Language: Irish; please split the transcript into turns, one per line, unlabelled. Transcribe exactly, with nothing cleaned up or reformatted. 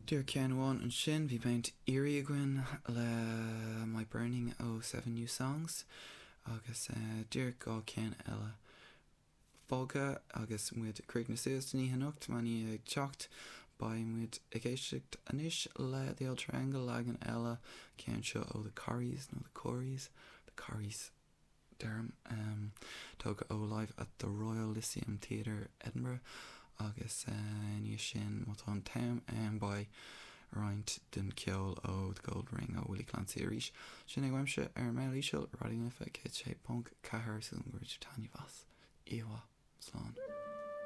Díreach ceann amháin ansin bhí Mount Eerie againn le My Burning ó Seven New Songs agus uh, díreach dhá ceann eile fágtha agus muid ag críochnú suas don oíche anocht má ní ag teacht beidh muid ag éisteacht anois le The Old Triangle leagan eile ceann seo ó The Corries nó The Corries The Corries deirim um, tógtha ó live at the Royal Lyceum Theatre Edinburgh agus uh, ní sin má tá an t-am um, beidh roinnt den ceol ó The Gold Ring ó Willie Clancy arís. Sin é uaimse ar Mheall Íseal Raidió na Life céad sé ponc ceathair súil go raibh taitneamh as. Íomhá slán.